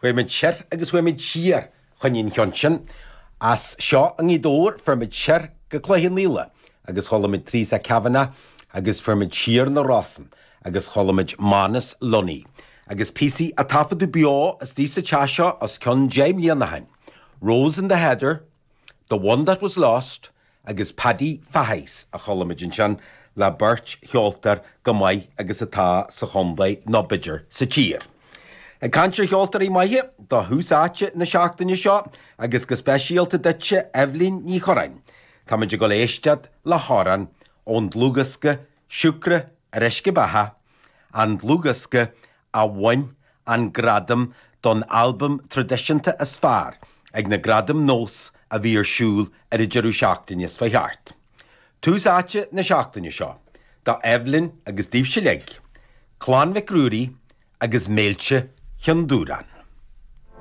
Chuaigh muid soir agus chuaigh muid siar fá choinne an cheann sin. As seo i nGaoth Dobhair fuair muid soir go Cloich Cheann Fhaola agus chuala muid Teresa Kavanagh agus fuair muid siar na Rosann agus chuala muid Manus Lunny agus píosaí a taifeadadh beo istigh sa teach seo os cionn 10 mbliana ó shin, Rose in the Heather, The One That Was Lost agus Paddy Fahy's a chuala muid ansin le beirt cheoltóir chomh maith agus atá sa chontae nó b'fhéidir sa tír. Ag caint ar cheoltóirí maithe, do thús áite na seachtaine seo agus go speisialta duitse Eibhlín Ní Churráin, táimid ag dul éisteacht le hamhrán ón dlúthdhiosca Siúcra ar Uisce Beatha, an dlúthdhiosca a bhain an gradam don albam traidisiúnta is fearr ag na Gradaim Nós a bhí ar siúl ar an deireadh seachtaine seo chuaigh thart. Tús áite na seachtaine seo do Eibhlín agus daoibhse uilig, Clann Mhic Ruairí agus Méilte Chionn Dúráin.